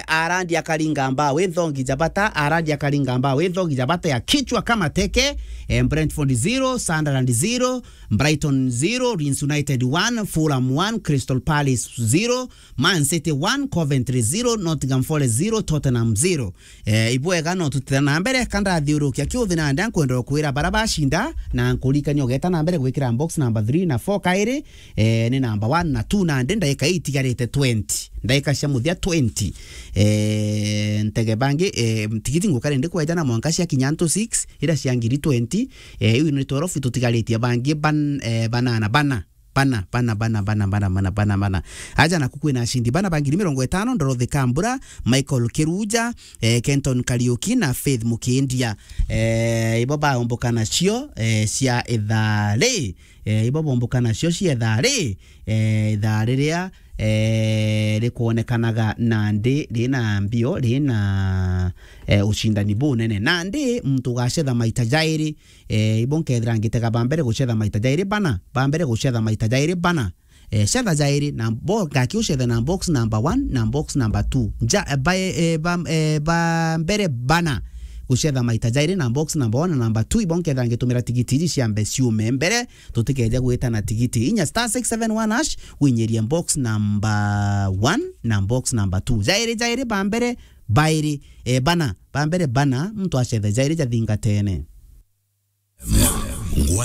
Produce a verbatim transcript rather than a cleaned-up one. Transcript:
Arandi akaringa mbao, wi nthogi ja bata, Arandi akaringa mbao, wi nthogi ja bata ya kichwa kama teke. Eh, Brentford zero, Sunderland zero, Brighton zero, Leeds United one, Fulham one, Crystal Palace zero, Man City one, Coventry zero, Nottingham Forest zero, Tottenham zero. Eh, ibwega no tutithira na mbere, ka ndathiurukia kiuthi nandi nkwenda kwira bara bacinda, na nkurikania ugeta na mbere gwikira box number three na four kairi, eh, ni number one na two nandi ndaika itigarite twenty. Ndaika cia muthia twenty. Eh, ntege bangi, eh, tigiti nguka rindi kweja na mwanka cia kinya ntu six, ira cia ngiri twenty, eh, iu ni twelve tutugaritie bangi ban-, eh, banana, bana. Bana, bana, bana. Aja naku kwina acindi bana ba ngiri mirongo itano, Dorothy Kambura, Michael Kiruja, eh, Kenton Kariuki na Faith Mukindia. Eh, ibo baomboka nacio, eh, cia ithaa ri. Eh, ibo bomboka nacio cia ithaa ri. Eh, ithaa riria, eh, rikwonekanaga nandi rina mbio, rina, eh, ucindani bunene. Nandi muntu ugacetha maita jairi, eh, ibo nkethira ngitega ba mbere gucetha maita jairi bana, ba mbere gucetha maita jairi bana. Eh, cetha jairi na bo-, ngaki ucethe na box number one na box number two. Ja, eh, ba, eh, ba, eh, ba mbere bana gucetha maita jairi na box number one na number two. Ibo nkethira ngitumira tigiti iji ciambe ciume mbere, tutikeje gwita na tigiti. Inya star six seven one hash, winyirie box number one na box number two. Jairi, jairi ba mbere, bairi, eh, bana, ba mbere bana, muntu acethe jairi jathingatene. Ngwa